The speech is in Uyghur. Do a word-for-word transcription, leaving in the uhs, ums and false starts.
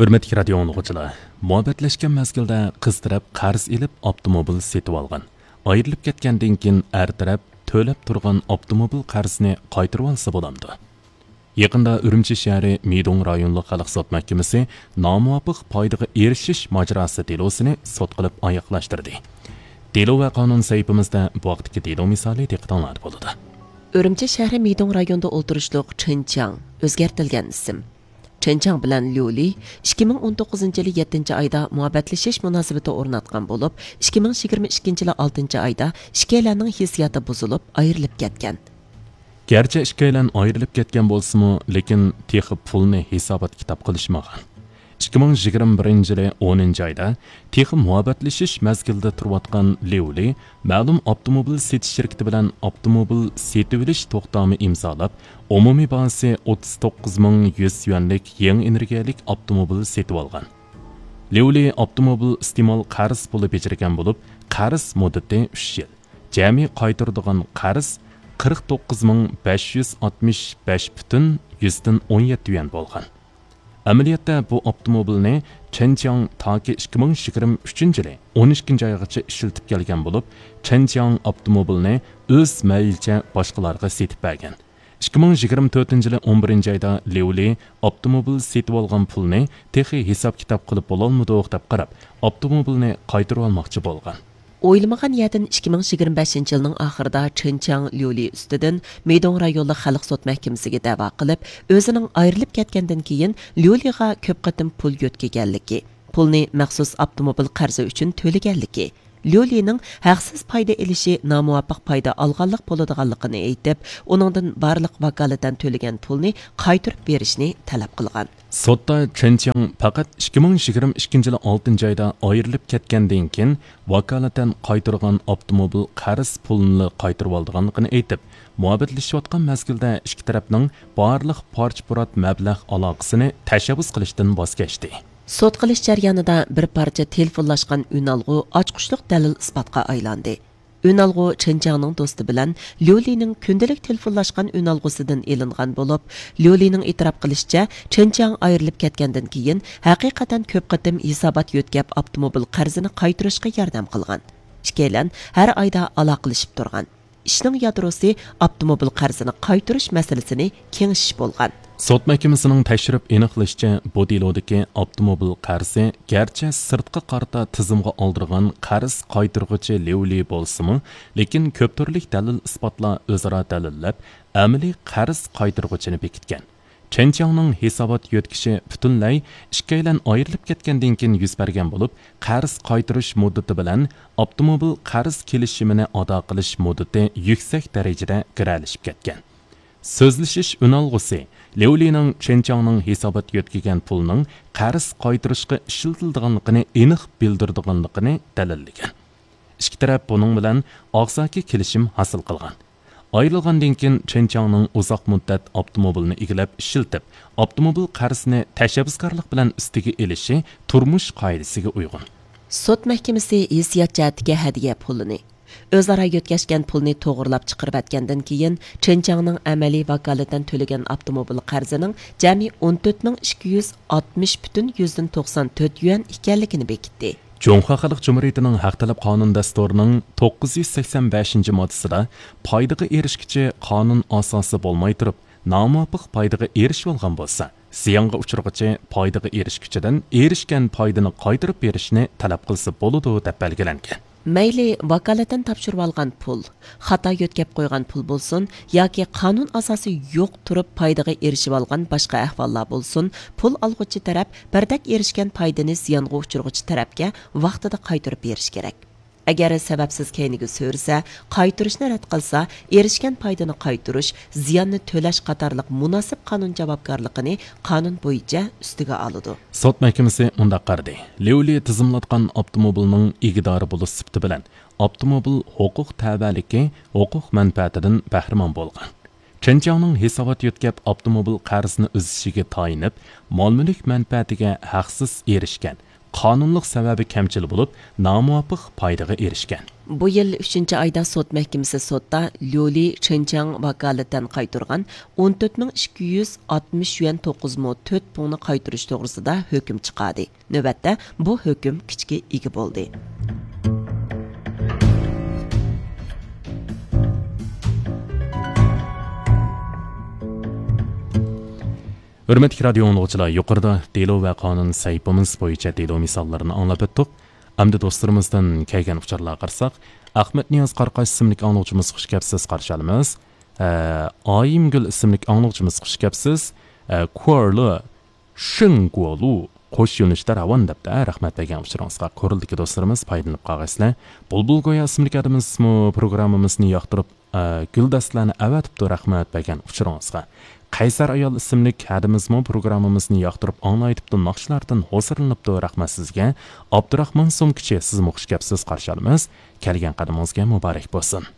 ھۆرمەتلىك رادىيو ئاڭلىغۇچىلار، مۇھەببەتلەشكەن مەزگىلدە قىز تەرەپ قەرز ئېلىپ ئاپتوموبىل سېتىۋالغان، ئايرىلىپ كەتكەندىن كېيىن ئەر تەرەپ تۆلەپ تۇرغان ئاپتوموبىل قەرزىنى قايتۇرۇۋالسا بولامدۇ؟ يېقىندا ئۈرۈمچى شەھىرى مىدۇڭ رايونلۇق خەلق سوت مەھكىمىسى نامۇۋاپىق پايدىغا ئېرىشىش ماجىراسى دېلوسىنى سوت قىلىپ ئاياغلاشتۇردى. دېلو ۋە قانۇن سەھىپىمىزدە بۇ ھەقتىكى دېلو مىسالى دىققىتىڭلاردا بولىدۇ. ئۈرۈمچى شەھىرى مىدۇڭ رايونىدا ئولتۇرۇشلۇق چېن چياڭ، ئۆزگەرتىلگەن ئىسىم، چېن چياڭ بىلەن ليۇ لى ئىككى مىڭ ئون توققۇزىنچى يىلى يەتتىنچى ئايدا مۇھەببەتلىشىش مۇناسىۋىتى ئورناتقان بولۇپ، ئىككى مىڭ يىگىرمە ئىككىنچى يىلى ئالتىنچى ئايدا ئىككىيلەننىڭ ھېسسىياتى بۇزۇلۇپ، ئايرىلىپ كەتكەن. گەرچە ئىككىيلەن ئايرىلىپ كەتكەن بولسىمۇ، لېكىن تېخى پۇلنى ھېسابات-كىتاب قىلىشمىغان. ئىككى مىڭ يىگىرمە بىرىنچى يىلى ئونىنچى ئايدا تېخى مۇھەببەتلىشىش مەزگىلىدە تۇرۇۋاتقان ليۇ لى مەلۇم ئاپتوموبىل سېتىش شىركىتى بىلەن ئاپتوموبىل سېتىۋېلىش توختامى ئىمزالاپ، ئومۇمىي باھاسى ئوتتۇز توققۇز مىڭ يۈز يۈەنلىك يېڭى ئېنېرگىيەلىك ئاپتوموبىل سېتىۋالغان. ليۇ لى ئاپتوموبىل ئىستېمال قەرز پۇلى بېجىرگەن بولۇپ، قەرز مۇددىتى ئۈچ يىل. جەمئىي قايتۇرىدىغان قەرز قىرىق توققۇز مىڭ بەش يۈز ئاتمىش بەش پۈتۈن يۈزدىن ئون يەتتە يۈەن بولغان. ئەمەلىيەتتە بۇ ئاپتوموبىلنى چېن چياڭ تاكى ئىككى مىڭ يىگىرمە ئۈچىنچى يىلى ئون ئىككىنچى ئايغىچە ئىشلىتىپ كەلگەن بولۇپ، چېن چياڭ ئاپتوموبىلنى ئۆز مەيلىچە باشقىلارغا سېتىپ بەرگەن. ئىككى مىڭ يىگىرمە تۆتىنچى يىلى ئون بىرىنچى ئايدا ليۇ لى ئاپتوموبىل سېتىۋالغان پۇلنى تېخى ھېساب-كىتاب قىلىپ بولالمىدۇق دەپ قاراپ، ئاپتوموبىلنى قايتۇرۇۋالماقچى بولغان. ئويلىمىغان يەردىن ئىككى مىڭ يىگىرمە بەشىنچى يىلنىڭ ئاخىرىدا چېن چياڭ ليۇ لى ئۈستىدىن مىدۇڭ رايونلۇق خەلق سوت مەھكىمىسىگە دەۋا قىلىپ، ئۆزىنىڭ ئايرىلىپ كەتكەندىن كېيىن ليۇ لىغا كۆپ قېتىم پۇل يۆتكىگەنلىكى، پۇلنى مەخسۇس ئاپتوموبىل قەرزى ئۈچۈن تۆلىگەنلىكى، ليۇ لىنىڭ ھەقسىز پايدا ئېلىشى نامۇۋاپىق پايدا ئالغانلىق بولىدىغانلىقىنى ئېيتىپ، ئۇنىڭدىن بارلىق ۋاكالىتەن تۆلىگەن پۇلنى قايتۇرۇپ بېرىشنى تەلەپ قىلغان. سوتتا چېن چياڭ پەقەت ئىككى مىڭ يىگىرمە ئىككىنچى يىلى ئالتىنچى ئايدا ئايرىلىپ كەتكەندىن كېيىن، ۋاكالىتەن قايتۇرغان ئاپتوموبىل قەرز پۇلىنىلا قايتۇرۇۋالىدىغانلىقىنى ئېيتىپ، مۇھەببەتلىشىۋاتقان مەزگىلدە ئىككى تەرەپنىڭ بارلىق پارچە-پۇرات مەبلەغ ئالاقىسىنى تەشەببۇس قىلىشتىن ۋاز كەچتى. سوت قىلىش جەريانىدا بىر پارچە تېلېفونلاشقان ئۈنئالغۇ ئاچقۇچلۇق دەلىل ئىسپاتقا ئايلاندى. ئۈنئالغۇ چېن چياڭنىڭ دوستى بىلەن ليۇ لىنىڭ كۈندىلىك تېلېفونلاشقان ئۈنئالغۇسىدىن ئېلىنغان بولۇپ، ليۇ لىنىڭ ئېتىراپ قىلىشىچە، چېن چياڭ ئايرىلىپ كەتكەندىن كېيىن ھەقىقەتەن كۆپ قېتىم ھېسابات يۆتكەپ ئاپتوموبىل قەرزىنى قايتۇرۇشقا ياردەم قىلغان. ئىككىيلەن ھەر ئايدا ئالاقىلىشىپ تۇرغان. ئىشنىڭ يادروسى ئاپتوموبىل قەرزىنى قايتۇرۇش مەسىلىسىنى كېڭىشىش بولغان. سوت مەھكىمىسىنىڭ تەكشۈرۈپ ئېنىقلىشىچە، بۇ دېلودىكى ئاپتوموبىل قەرزى گەرچە سىرتقا قارىتا تىزىمغا ئالدۇرغان قەرز قايتۇرغۇچى ليۇ لى بولسىمۇ، لېكىن كۆپ تۈرلۈك دەلىل-ئىسپاتلار ئۆزئارا دەلىللەپ، ئەمەلىي قەرز قايتۇرغۇچىنى بېكىتكەن. چېن چياڭنىڭ ھېسابات يۆتكىشى پۈتۈنلەي ئىككىيلەن ئايرىلىپ كەتكەندىن كېيىن يۈز بەرگەن بولۇپ، قەرز قايتۇرۇش مۇددىتى بىلەن ئاپتوموبىل قەرز كېلىشىمىنى ئادا قىلىش مۇددىتى يۈكسەك دەرىجىدە گىرەلىشىپ كەتكەن. سۆزلىشىش ئۈنئالغۇسى ليۇ لىنىڭ چېن چياڭنىڭ ھېسابات يۆتكىگەن پۇلىنىڭ قەرز قايتۇرۇشقا ئىشلىتىلىدىغانلىقىنى ئېنىق بىلدۈرىدىغانلىقىنى دەلىللىگەن. ئىككى تەرەپ بۇنىڭ بىلەن ئاغزاكى كېلىشىم ھاسىل قىلغان. ئايرىلغاندىن كېيىن چېن چياڭنىڭ ئۇزاق مۇددەت ئاپتوموبىلنى ئىگىلەپ ئىشلىتىپ، ئاپتوموبىل قەرزىنى تەشەببۇسكارلىق بىلەن ئۈستىگە ئېلىشى تۇرمۇش قائىدىسىگە ئۇيغۇن. سوت مەھكىمىسى ھېسسىيات جەھەتتىكى ھەدىيە پۇلىنى، ئۆزئارا يۆتكەشكەن پۇلنى توغرىلاپ چىقىرىۋەتكەندىن كېيىن، چېن چياڭنىڭ ئەمەلىي ۋاكالىتەن تۆلىگەن ئاپتوموبىل قەرزىنىڭ جەمئىي ئون تۆت مىڭ ئىككى يۈز ئاتمىش پۈتۈن يۈزدىن توقسان تۆت يۈەن ئىكەنلىكىنى بېكىتتى. جۇڭخۇا خەلق جۇمھۇرىيىتىنىڭ ھەق تەلەپ قانۇن دەستۇرىنىڭ توققۇز يۈز سەكسەن بەشىنچى ماددىسىدا پايدىغا ئېرىشكۈچى قانۇن ئاساسى بولماي تۇرۇپ، نامۇۋاپىق پايدىغا ئېرىشىۋالغان بولسا، زىيانغا ئۇچرىغۇچى پايدىغا ئېرىشكۈچىدىن ئېرىشكەن پايدىنى قايتۇرۇپ بېرىشنى تەلەپ قىلسا بولىدۇ، دەپ بەلگىلەنگەن. مەيلى ۋاكالىتەن تاپشۇرۇۋالغان پۇل، خاتا يۆتكەپ قويغان پۇل بولسۇن ياكى قانۇن ئاساسى يوق تۇرۇپ پايدىغا ئېرىشىۋالغان باشقا ئەھۋاللار بولسۇن، پۇل ئالغۇچى تەرەپ بىردەك ئېرىشكەن پايدىنى زىيانغا ئۇچرىغۇچى تەرەپكە ۋاقتىدا قايتۇرۇپ بېرىشى كېرەك. ئەگەر سەۋەبسىز كەينىگە سۈرسە، قايتۇرۇشنى رەت قىلسا، ئېرىشكەن پايدىنى قايتۇرۇش، زىياننى تۆلەش قاتارلىق مۇناسىپ قانۇن جاۋابكارلىقىنى قانۇن بويىچە ئۈستىگە ئالىدۇ. سوت مەھكىمىسى مۇنداق قارىدى: ليۇ لى تىزىملاتقان ئاپتوموبىلنىڭ ئىگىدارى بولۇش سۈپىتى بىلەن ئاپتوموبىل ھوقۇق تەۋەلىكى ھوقۇق مەنپەئەتىدىن بەھرىمەن بولغان. چېن چياڭنىڭ ھېسابات يۆتكەپ ئاپتوموبىل قەرزىنى ئۈزۈشىگە تايىنىپ، مال-مۈلۈك مەنپەئەتىگە ھەقسىز ئېرىشكەن، قانۇنلۇق سەۋەبى كەمچىل بولۇپ، نامۇۋاپىق پايدىغا ئېرىشكەن. بۇ يىل ئۈچىنچى ئايدا سوت مەھكىمىسى سوتتا ليۇلى چېنچاڭ ۋاكالىتەن قايتۇرغان ئون تۆت مىڭ ئىككى يۈز ئاتمىش يۈەن توققۇز مو تۆت پۇڭنى قايتۇرۇش توغرىسىدا ھۆكۈم چىقاردى. نۆۋەتتە بۇ ھۆكۈم كۈچكە ئىگە بولدى. ھۆرمەتلىك رادىيو ئاڭلىغۇچىلار، يۇقىرىدا دېلو ۋە قانۇن سەھىپىمىز بويىچە دېلو مىساللىرىنى ئاڭلاپ ئۆتتۇق. ئەمدى دوستلىرىمىزدىن كەلگەن ئۇچۇرلارغا قارىساق، ئەخمەتنىياز قاراقاش ئىسىملىك ئاڭلىغۇچىمىز، خۇش كەپسىز، قارشى ئالىمىز. ئە، ئايىمگۈل ئىسىملىك ئاڭلىغۇچىمىز، خۇش كەپسىز. ئە، كۇئېرلى شېڭگۇلۇ قوش يۆنىلىشتە راۋان دەپتۇ. رەھمەت بەرگەن ئۇچۇرىڭىزغا. كورلىدىكى دوستلىرىمىز پايدىلىنىپ قالغايسىلەر. بۇلبۇل گويا ئىسىملىك ئادىمىزمۇ پروگراممىمىزنى ياقتۇرۇپ، ئە، گۈلدەستىلەرنى ئەۋەتىپتۇ. رەھمەت بەرگەن ئۇچۇرىڭىزغا. قەيسەر ئايال ئىسىملىك ھەدىمىزمۇ پروگراممىمىزنى ياقتۇرۇپ ئاڭلايتىپتۇ، ناخشىلاردىن ھوسۇرلىنىپتۇ. رەھمەت سىزگە. ئابدۇراخمان سومكىچى، سىزمۇ خۇش كەپسىز، قارشى ئالىمىز. كەلگەن قەدىمىڭىزگە مۇبارەك بولسۇن.